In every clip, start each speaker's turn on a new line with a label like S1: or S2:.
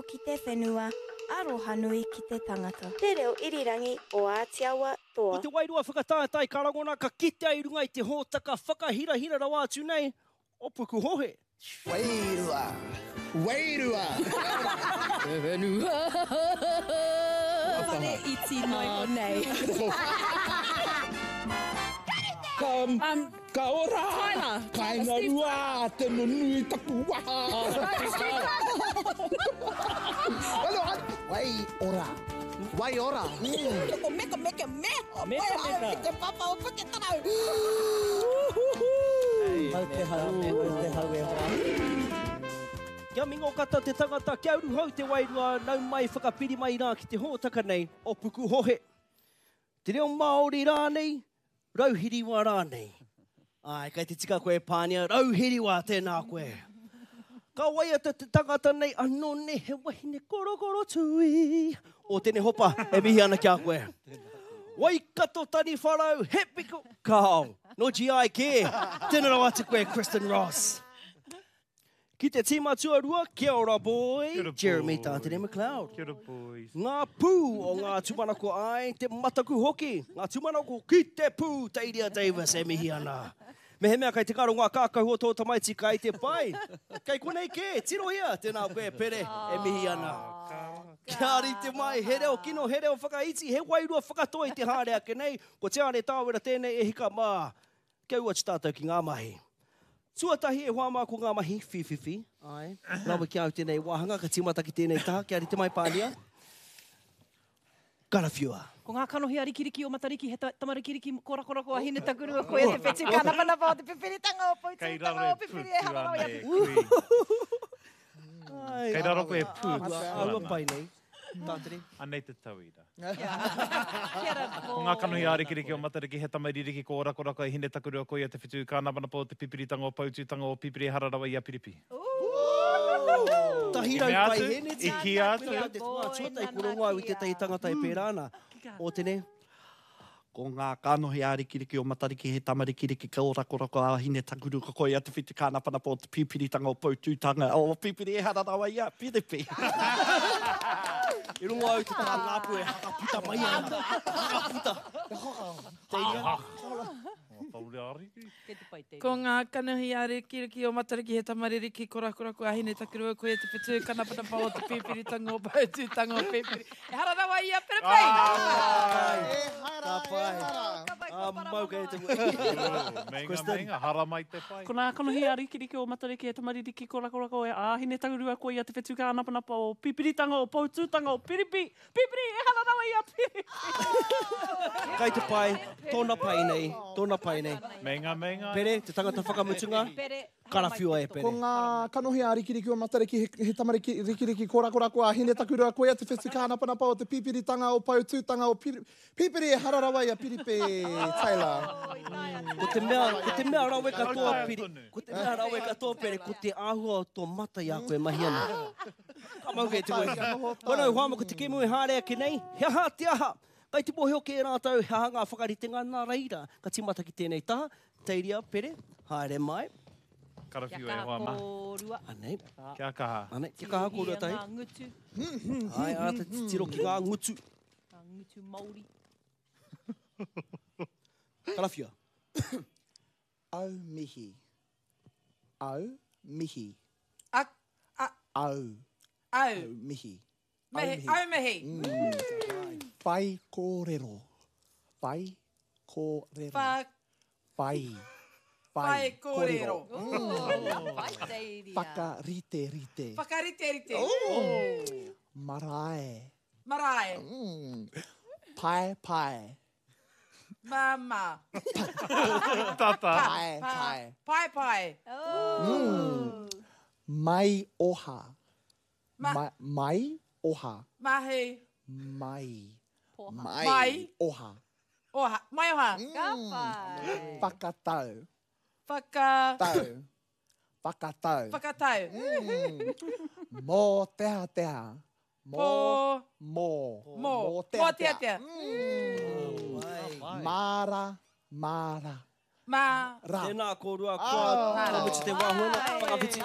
S1: ki te whenua, arohanui ki te tangata. Te reo irirangi o Ātiawa
S2: Toa. Ko te wairua whakataetae ka rangona ka kitea i runga i te hōtaka whakahirahira rawa atu nei o Pukuhohe.
S3: Wairua! Wairua!
S4: Te whenua!
S5: Whare iti noiho nei.
S3: Ka, ka ora!
S4: Tyler!
S3: Kainga rua te nunui taku waha! Wai ora! Wai ora!
S5: Ko meka meka me!
S2: Meka meka!
S5: Te papa o Puketarau!
S6: Mau te hau, mau te hau e hoa.
S2: Kia mingokata te tangata, kia uruhau te wairua, nau mai whakapiri mai rā ki te hōtaka nei o Pukuhohe. Te reo Māori rānei, rauhiriwa rānei. Āe, kei te tika koe e Pānia, rauhiriwa, tēnā koe. Ka waiata te tangata nei, anō nei he wahine korokoro tui. O Tenehopa, e mihi ana ki a koe. Waikato Taniwharau, he piko, kao, no GI kē. Tēnā rawa atu koe, Kristen Ross. Ki te tīma tuarua, kia ora boy,
S7: Kia ora
S2: Jeremy
S7: boys.
S2: Tātere McLeod.
S7: Kia ora boys.
S2: Ngā pū o ngā tūmanako ai, te mataku hoki, ngā tūmanako ki te pū, Teiria Davis e mihi ana. Mehemea kei te ngaro ngā kākahu o tō tamaiti kai te pai. Kei konei kē, tirohia, tēnā koe Pere e mihi ana. Kia rite mai, he reo kino, he reo whakaiti, he wairua whakatoi te haere ake nei, ko Tiare Tāwera tēnei e hika mā. Kia ū atu tātou ki ngā mahi. Tuatahi e hoa mā ko ngā mahi whīwhiwhi, āe, rawe ki a au tēnei wāhanga, ka tīmata ki tēnei taha, kia rite mai Pānia. Karawhiua.
S8: Ko ngā kanohi a Rikiriki o Matariki, he tamarikiriki korakorako a Hinetakurua, koia te whetū kānapanapa o te pipiritanga o Poutūtanga o Pipiri e hara rawa i a
S7: Pipiri. Kei raro koe e pū atu ana.
S2: Āhua pai nei. Tātere.
S7: Anei te tauira. Ko ngā kanohi ārikiriki o Matariki, he tama ririki ko Orakorako e Hinetakurua, koia te whetū kānapanapa o te pipiritanga o Poutūtanga o Pipiri ehara rawa i a Piripi.
S2: 100 paihēneti.
S7: I kīia atu.
S2: Koia te wā tuatahi kua rongo au i tētahi tangata e pērā ana. Ōtene.
S6: Ko ngā kanohi ārikiriki o Matariki he tamarikiriki ka orakorako a Hinetakuru ka koia te whitu kānapanapa o te pīpiritanga o Poutūtanga o Pipiri ehara rawa i a Piripi.
S2: I rongo au te taha ngāpu e hakaputa mai ana. Hakaputa. Te ia.
S4: Ko ngā kanohi ārikiriki o Matariki he tamaririki korakorako a Hinetakurua koia te whetū kanapanapa o te pīpiritanga o Poutūtanga o Pipiri. Ehara rawa i a Piripi!
S2: Ka pai. Ka mau kei te
S7: Meinga, meinga, haramai te pai.
S9: Ko ngā kanohi ārikiriki o Matariki he tamaririki korakorako a Hinetakurua koia te whetū kānapanapa o Pipiritanga o Poutūtanga o Piripi. Pipiri, ehara rawa i a Piripi!
S2: Kai te pai, tōna pai nei, tōna pai nei.
S7: Meinga, meinga.
S2: Pere, te tangata whakamutunga, karawhiua e Pere.
S3: Ko ngā kanohi a Rikiriki o Matariki, he, he tamariki rikiriki korakorako a Hinetakurua, koia te whetu kānapanapa o te pipiritanga o Poutūtanga o Piri, Pipiri, ehara rawa i a Piripi Taylor.
S2: Ko te mea, ko te mea rawe katoa, Piri, ko te mea rawe katoa, Pere, ko te āhua o tō mata i a koe e mahi ana. Ka mau kei te wehi. Koinā i hoa ko te kēmu e haere ake nei, he aha te aha? Kai te mōhio kē rātou he aha ngā whakaritenga nā reira ka tīmata ki tēnei taha, Teiria, Pere, haere mai.
S7: Karawhiu e hoa ma.
S2: Anei.
S7: Kia kaha.
S2: Anei, kia kaha kōrua tahi.
S8: Ngā ngutu.
S2: Ai, āta titiro ki ngā ngutu.
S8: Ngā ngutu Māori.
S2: Karawhiua.
S3: Au mihi. Au mihi.
S4: A, a.
S3: Au.
S4: Au.
S3: Au mihi.
S4: Mihi. Au mihi.
S3: Mm. Whai kōrero. Whai kōrero.
S4: Wha.
S3: Whai.
S4: Whai kōrero.
S3: Mm. Whakarite rite.
S4: Whakarite rite.
S3: Oh. Marae.
S4: Marae.
S3: Mm. Pae pae.
S4: Māmā.
S7: Tata.
S3: Pae, pae.
S4: Pae, pae.
S3: Mm. Mai oha.
S4: Ma.
S3: Ma, mai oha.
S4: Mahi.
S3: Mai.
S8: Poha.
S3: Mai.
S4: Mai.
S3: Oha.
S4: Oha. Mai oha.
S5: Ka pai.
S3: Whakatau.
S4: Whaka.
S3: Tau. Whakatau.
S4: Whakatau.
S3: Mm. Mōteatea. Mō.
S4: Pō.
S3: Mō.
S4: Mō.
S3: Mōteatea.
S4: Mōteatea.
S3: Mm. Māra. Māra.
S4: Mā.
S3: Ra.
S2: Tēnā kōrua, kua, kua mutu te wā huanga, whakawhiti.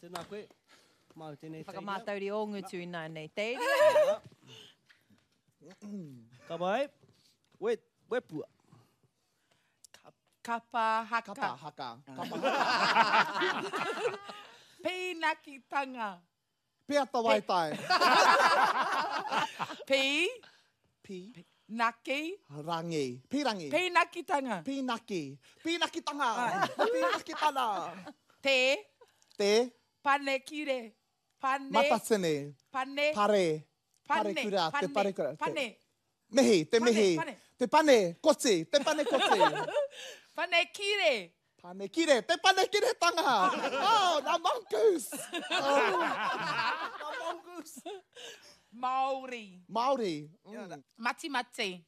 S2: Tēnā koe. Māu tēnei teina.
S8: Whakamātauri ō ngutu ināianei. Teiria.
S2: Ka pai. We, wepua.
S4: Kapa haka.
S3: Kapa haka. Kapa haka.
S4: Pīnakitanga.
S3: Peata waitai.
S4: Pī.
S3: Pī.
S4: Naki.
S3: Rangi. Pīrangi.
S4: Pīnakitanga.
S3: Pīnaki. Pīnakitanga. Pīnakitana.
S4: Te.
S3: Te.
S4: Panekire. Pane.
S3: Matatini.
S4: Pane.
S3: Pare.
S4: Pane.
S3: Parekura. Te
S4: Pane.
S3: parekura. Te-
S4: Pane.
S3: Mihi. Te
S4: Pane,
S3: mihi.
S4: pane.
S3: Te pane. Koti. Te pane koti.
S4: Panekire.
S3: Panekire. Te panekiretanga. Oh, nā mongoose. Oh.
S2: Nā mongoose.
S4: Māori.
S3: Māori. Mm.
S4: Matimati.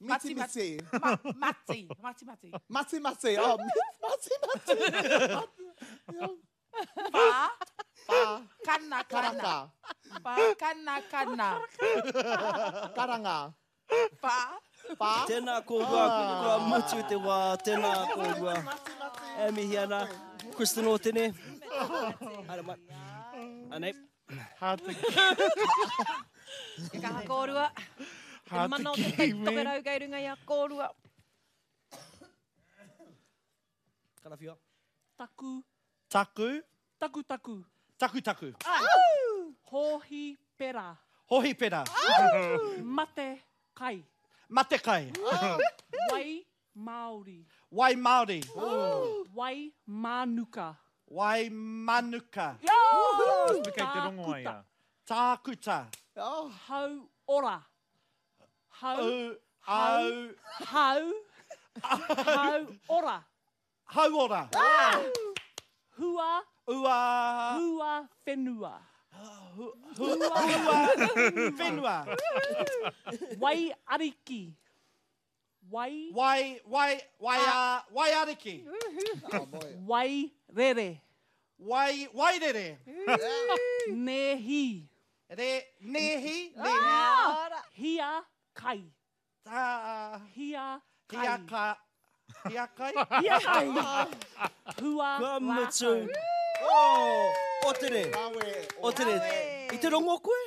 S3: Miti miti.
S4: Ma, mati. Mati mati.
S3: Mati mati. Oh, mati mati.
S4: Whā.
S3: Whā.
S4: Kana kana.
S3: Karaka.
S4: Whā kana kana.
S3: Karanga.
S4: Whā.
S3: Whā.
S2: Tēnā kōrua, kua mutu te wā, tēnā kōrua. E mihi ana, Kristen Ōtene. Haere mai. Anei.
S7: Hard to...
S8: Kia kaha kōrua. Te mana o te tai tokerau kei runga i a kōrua.
S2: Karawhiua.
S9: Taku.
S6: Taku.
S9: Taku taku.
S6: Taku taku.
S9: Hōhi pera.
S6: Hōhi pera.
S9: Mate kai.
S6: Mate kai.
S9: Wai Māori.
S6: Wai Māori.
S9: Wai Mānuka.
S6: Wai Manuka.
S7: Kei te rongo ai a.
S6: Tākuta.
S9: Hau ora. Hau.
S6: Au. Au.
S9: Hau. Hau ora.
S6: Hau ora.
S9: Hua.
S6: Ua.
S9: Hua whenua.
S6: Hua whenua.
S9: Wai ariki. Wai.
S6: Wai, wai, wai, a, wai ariki.
S9: Wai rere.
S6: Wai, wai rere.
S9: Nehi.
S6: Re, nehi, nehi.
S9: Hia kai.
S6: Ta,
S9: Hia kai.
S6: hia ka, hia kai.
S9: Hia kai. Hua
S2: Kua mutu.
S9: rākau.
S2: Oh, Ōtene. Ōtene. I te rongo koe?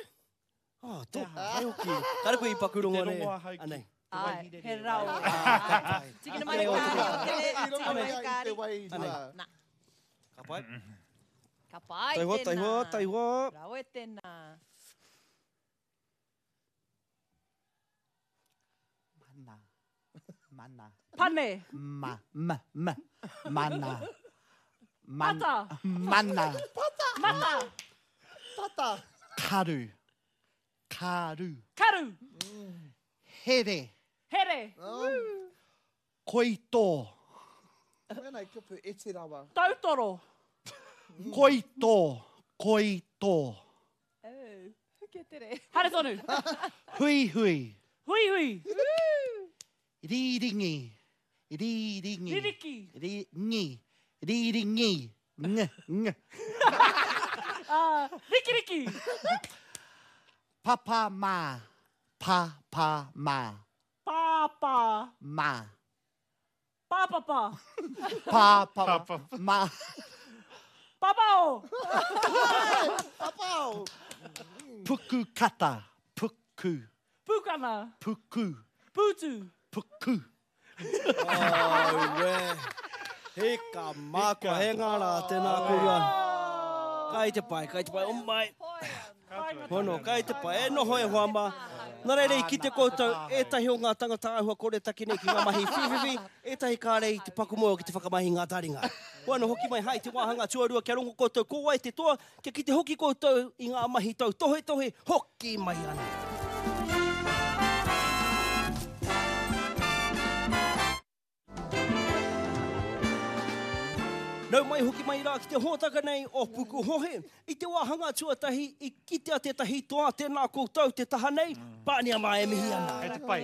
S2: Oh, tō pai hoki. Kāre koe i paku rongo
S6: Te
S2: nei.
S6: rongo ahau ki
S2: Anei.
S6: te
S8: Ai, he rawe.
S2: Ah, ka pai.
S8: Tikina mai te kāri, Ōtene. Tikina mai te kāri.
S3: Te wairua.
S8: Nā.
S2: Ka pai.
S8: Ka pai
S2: Taihoa,
S8: tēnā.
S2: taihoa, taihoa.
S8: Rawe tēnā.
S6: Mana. Mana.
S9: Pane.
S6: Ma, ma, ma. Mana. Man,
S9: Pata.
S6: Mana.
S9: Mata.
S3: Tata.
S6: Karu. Karu.
S9: Karu.
S6: Here.
S9: Here.
S6: Koito.
S3: Wēnei kupu iti rawa.
S9: Tautoro.
S6: Koito. Koito.
S8: Oh, kia tere.
S9: Haere tonu.
S6: Hui hui.
S9: Hui hui.
S6: Rīringi. Rīringi.
S9: Ririki.
S6: Ringi. Rīringi. Ng, ng.
S9: Ah, rikiriki.
S6: Papa mā. Pa, pa, mā.
S9: Pāpā.
S6: Mā.
S9: Pāpapa.
S6: Pa, pa, mā.
S9: Papao.
S3: Papao.
S6: Puku kata. Puku.
S9: Pukana.
S6: Puku.
S9: Pūtu.
S6: Puku.
S2: Auē. He ka mākua, he ngā rā, tēnā kōrua. Kai te pai, kai te pai, o mai. Hono, kai te pai, e noho e hoa mā. Nā reira i kite koutou, ētahi o ngā tangata āhua koretake nei ki ngā mahi whiwhiwhi, ētahi kāre i te paku moe ki te whakamahi i ngā taringa. Hoi anō hoki mai hai te wāhanga tuarua kia rongo koutou ko wai te toa, kia kite hoki koutou i ngā mahi tautohetohe, hoki mai ana. Nau mai hoki mai rā ki te hōtaka nei o Pukuhohe. I te wāhanga tuatahi i kitea tētahi toa tēnā koutou te taha nei, pānia mā e mihi ana.
S7: Kei te pai,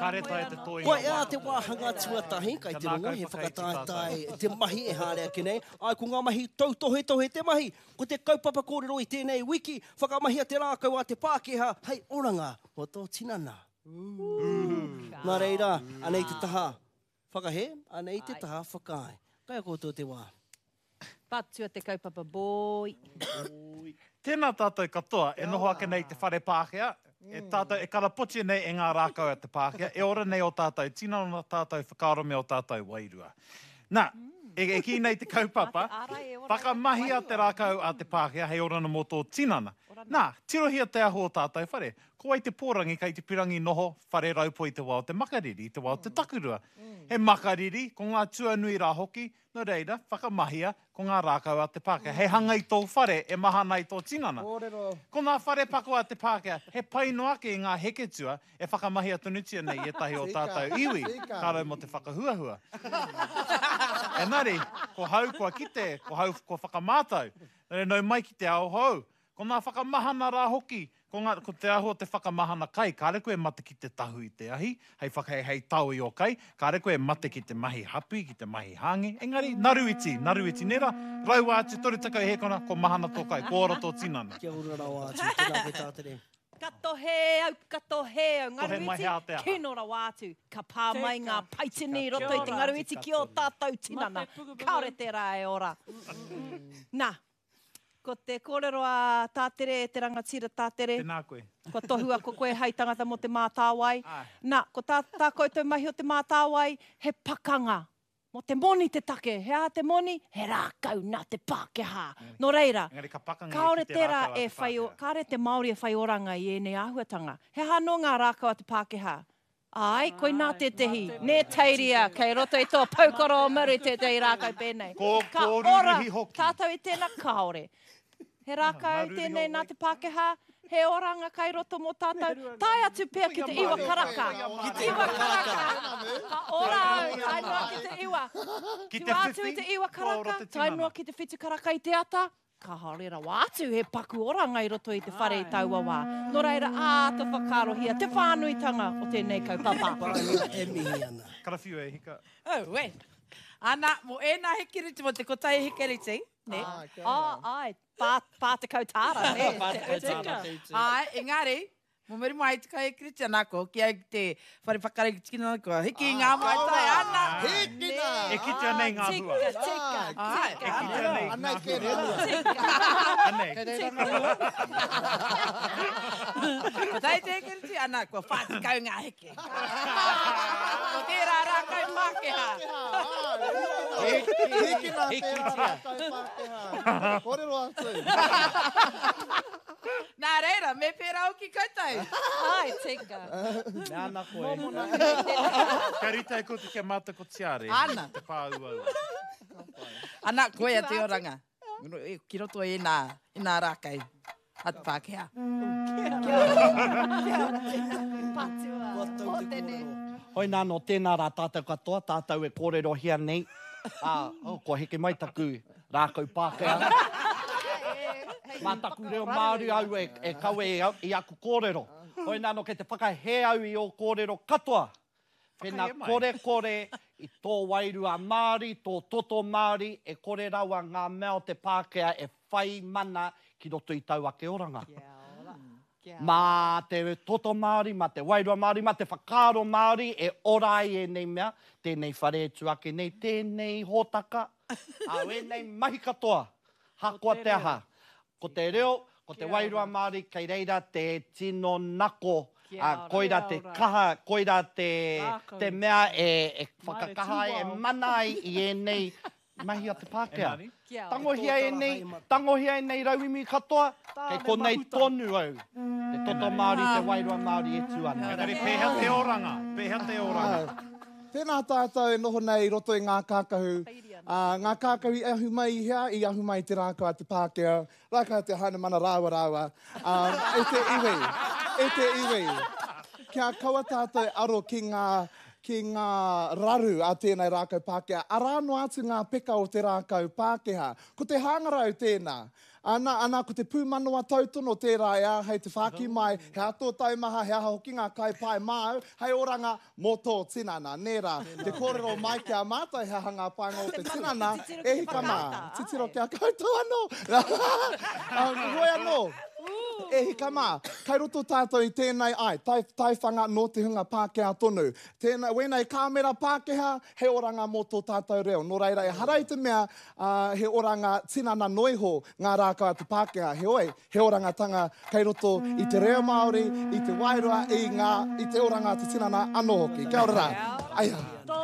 S7: kāre taea te toenga
S2: Koia te wāhanga tuatahi, kai te rongo he whakataetae te mahi e haere ake nei. Āe, ko ngā mahi tautohetohe te mahi. Ko te kaupapa kōrero i tēnei wiki, whakamahia te rākau a te Pākehā hei oranga mō tō tinana. Nā reira, anei te taha whakahē, anei te taha whakaae. Kai a koutou te wā.
S8: Patua te kaupapa boy.
S7: Tēnā tātou katoa e noho ake nei i te whare Pākehā, e tātou e karapotia nei e ngā rākau a te Pākehā, e ora nei ō tātou tinana, ō tātou whakaaro me ō tātou wairua. Nā, e kī nei te kaupapa, whakamahia te rākau a te Pākehā hei oranga mō tō tinana. Nā, tirohia te ahu o tātou whare. Ko wai te pōrangi kei te pirangi noho whare raupo i te wā o te makariri, i te wā o te takurua? He makariri, ko ngā tuanui rā hoki, Nō reira, whakamahia ko ngā rākau a te Pākehā hei hanga i tō whare e mahana ai tō tinana.
S3: Kōrero.
S7: Ko ngā whare pako a te Pākehā, he pai noa ake i ngā heketua e whakamahia tonutia nei i ētahi o tātou iwi, ka rau mō te whakahuahua. Engari, ko hau kua kite, ko hau kua whakamātau. Nō reira, nau mai ki te ao hou. Ko ngā whakamahana rā hoki, ko ngā, ko te āhua o te whakamahana kai, kāre koe e mate ki te tahu i te ahi, hei whaka, hei tao i ō kai, kāre koe e mate ki te mahi hapi, ki te mahi hāngi, engari, naru iti, naru iti, nē rā? Raua atu 30 hēkona, ko mahana tō kai, ko ora tō tinana.
S2: Kia ora rawa atu, tēnā koe Tātere.
S8: Ka tohe au, ka tohe au,
S7: Tohe mai
S8: ngaru
S7: he
S8: iti,
S7: ātea.
S8: kino rawa atu. Ka pā mai ngā paitini i roto i te ngaru iti ki ō tātou tinana. Kāore tērā e ora. Nā, Ko te kōrero a Tātere, te rangatira Tātere.
S7: Tēnā koe.
S8: Kua tohua ko koe hai tangata mō Te Mātāwai. Nā, ko tā, tā koutou mahi o Te Mātāwai, he pakanga. Mō te moni te take. He aha te moni? He rākau nā te Pākehā. Nō reira,
S7: Engari ka pakanga ia
S8: kāore
S7: ki te
S8: tērā
S7: rākau a
S8: e
S7: te
S8: whai,
S7: Pākehā.
S8: kāore te Māori e whai oranga i ēnei āhuatanga. He aha anō ngā rākau a te Pākehā? Āe, koinā tētehi. Nē, Teiria, kei roto i tō poukoro o muri tētehi rākau pēnei.
S7: Ko,
S8: Ka
S7: ko
S8: ora
S7: rūruhi hoki.
S8: tātou i tēnā, kāore. He rākau tēnei nā te Pākehā, he oranga kai roto mō tātou, tae atu pea ki te iwa karaka. Iwa karaka! Ka ora au, tae noa ki te iwa.
S7: Ki te
S8: Tua atu i
S7: whiwhi,
S8: te iwa
S7: kua ora
S8: karaka,
S7: te
S8: tae
S7: tinana.
S8: noa ki te whitu karaka i te ata, Kāore rawa atu he paku oranga i roto i te whare i taua wā. Nō reira, āta whakaarohia te whānuitanga o tēnei kaupapa.
S2: Pāngia e mihi ana.
S7: Karawhiu e hika.
S4: Auē. Ana, mō ēnā hekereti, mō te kotahi hekereti, nē?
S8: Ā, āe, 40 tāra, nē?
S6: 40 tāra te utu.
S4: Āe, engari, Mo muri mai te kai Kiritia nā ko ki au ki te whare whakarei ki tikina kua hiki i ngā maitai ana.
S3: Hikina!
S7: E kitea nei ngā hua.
S8: Tika, tika,
S4: Āe.
S7: E kitea nei ngā
S3: Anei kē
S7: hua.
S3: rā.
S7: Anei.
S6: Kei reira ngā hua?
S4: Ko tai te Kiritia ana kua 40 ngā heke. Ko tērā rākau Pākehā.
S3: Hikina tērā rākau Pākehā. Kōrero atu.
S4: Nā reira, me pērā hoki koutou.
S8: Ai, tika.
S6: Mea ana koe.
S7: Ka rite ai koutou ki a mātou ko Tiare.
S4: Ana.
S7: Te pā uaua.
S4: Ana, koia te oranga. Ki roto i ēnā, ēnā rākau a te Pākehā.
S8: Kia ora. Kia ora. Patua.
S2: Kua tau te kōrero.
S6: Hoi nā nō tēnā rā tātou katoa, tātou e kōrerohia nei, ā, oh, kua heke mai taku rākau Pākehā. Mā taku reo Māori au e kawe i aku kōrero. Hoi nā nō kei te whakahē au i ō kōrero katoa. Pēnā korekore i tō wairua Māori, tō toto Māori, e kore rawa ngā mea o te Pākehā e whai mana ki roto i tau ake oranga. Mā te toto Māori, mā te wairua Māori, mā te whakaaro Māori e ora ai ēnei mea, tēnei whare e tū ake nei, tēnei hōtaka, ā, ēnei mahi katoa, hakoa te aha. Ko te reo, ko te wairua Māori, kei reira te tino nako, ā, koirā te kaha, koirā te mea e whakakaha ai, e mana ai i ēnei Mahi a te Pākehā. Tangohia ēnei, tangohia ēnei rauemi katoa, kei konei tonu au. Te toto Māori, te wairua Māori e tū ana.
S7: Engari pēhea te oranga? Pēhea te oranga?
S3: Tēnā tātou e noho nei i roto i ngā kākahu, ā, ngā kākahu i ahu mai i hea? I ahu mai i te rākau a te Pākehā, rākau a te Hainamana rāua rāua, ā, e te iwi, e te iwi. Kia kaua tātou e aro ki ngā, ki ngā raru a tēnei rākau Pākehā. Arā noa atu ngā peka o te rākau Pākehā. Ko te hangarau tēnā. Ana, ana, ko te pūmanawa tautono tērā e āhei te whāki mai, he aha tō taumaha, he aha hoki ngā kai pai māu, hei oranga mō tō tinana. Nē rā, te kōrero mai ki a mātou he aha ngā painga o te tinana, e hika mā, titiro ki a koutou anō. Hoi anō. E hika mā, kai roto tātou i tēnei ai, tai, taiwhanga nō te hunga Pākehā tonu. Tēnā, wēnei kāmera Pākehā, he oranga mō tō tātou reo. Nō reira, ehara i te mea, ā, he oranga tinana noa iho ngā rākau a te Pākehā, heoi, he orangatanga kei roto i te reo Māori, i te wairua, i ngā, i te oranga a te tinana anō hoki. Kia ora rā. Aia.